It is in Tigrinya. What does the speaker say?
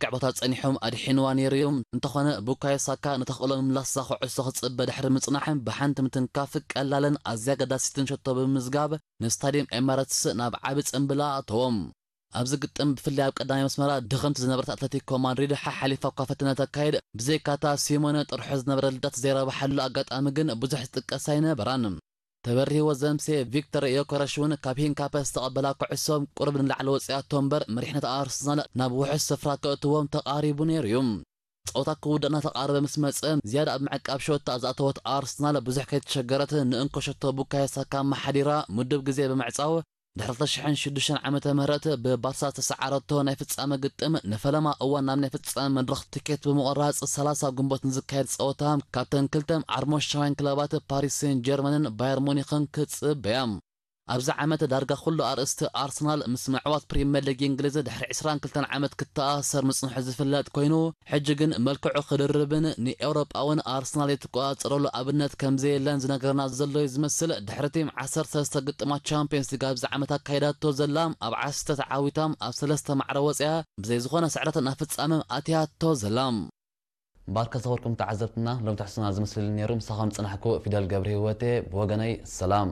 ክዕቦታት ጸኒሖም ኣድሒንዋ ነይሩ እዩ። እንተኾነ ቡካዮ ሳካ ነታ ክእሎ ምምላሳ ኩዕሶ ክጽበ ድሕሪ ምጽናሕ ብሓንቲ ምትንካፍ ቀላልን ኣዝያ ኣገዳሲትን ሸቶ ብምምዝጋብ ንስታድየም ኤማረትስ ናብ ዓቢ ጽምብላ ኣእተዎም። ኣብዚ ግጥም ብፍላይ ኣብ ቀዳማይ መስመራ ድኽምቲ ዝነበረት ኣትለቲኮ ማድሪድ ሓሓሊፋ እኳ ፈተነ ተካይድ፣ ብዘይካታ ሲሞነ ጥርሑ ዝነበረ ልዳት ዘይረብሓሉ ኣጋጣሚ ግን ብዙሕ ዝጥቀስ ኣይነበራን። ተበሪህዎ ዘምሴ ቪክተር ዮከረሽ እውን ካብ ሂንካፐ ዝተቐበላ ኩዕሶ ቁሩብ ንላዕሊ ወፂኣቶ እምበር መሪሕነት ኣርሰናል ናብ ውሑስ ስፍራ ከእትዎም ተቓሪቡ ነይሩ እዩ። ፀወታ ክውዳእ እናተቓረበ ምስ መፀ ዝያዳ ኣብ ምዕቃብ ሸወታ ዝኣተወት ኣርሰናል ብዙሕ ከይተሸገረት ንእንኮ ሸቶ ቡካዮ ሳካ ኣመሓዲራ ምዱብ ግዜ ብምዕፃው ድሕሪ ክልተ ሽሕን ሽዱሽተን ዓመተ ምህረት ብባርሳ ዝተሰዓረቶ ናይ ፍጻመ ግጥም ንፈለማ እዋን ናብ ናይ ፍጻመ መድረኽ ትኬት ብምቑራጽ ሰላሳ ግንቦት ንዝካየድ ጸወታ ካብተን ክልተ ዓርሞሻውያን ክለባት ፓሪስ ሴን ጀርመንን ባየር ሙኒኽን ክጽበያ። ኣብዚ ዓመት ዳርጋ ኩሉ ኣርእስቲ ኣርሰናል ምስ ምዕዋት ፕሪምየር ሊግ እንግሊዝ ድሕሪ ዕስራን ክልተን ዓመት ክተኣሰር ምጽንሑ ዝፍለጥ ኮይኑ፣ ሕጂ ግን መልክዑ ክድርብን ንኤውሮጳ እውን ኣርሰናል የተቆጻጸረሉ ኣብነት ከም ዘየለን ዝነግረና ዘሎ እዩ ዝመስል። ድሕሪ እቲም ዓሰርተ ሰለስተ ግጥማት ቻምፒየንስ ሊግ ኣብዚ ዓመት ኣካይዳቶ ዘላ፣ ኣብ ዓሰርተ ተዓዊታ ኣብ ሰለስተ ማዕረ ወፂኣ ብዘይ ዝኾነ ስዕረት ናብ ፍጻመ ኣትያቶ ዘላ። ባርከ ዝኸበርኩም ተዓዘብትና፣ ሎም ትሕዝቶና ዝመስል ነይሩ። ምሳኹም ዝጸናሕኩ ፊደል ገብረ ህይወቴ፣ ብወገነይ ሰላም።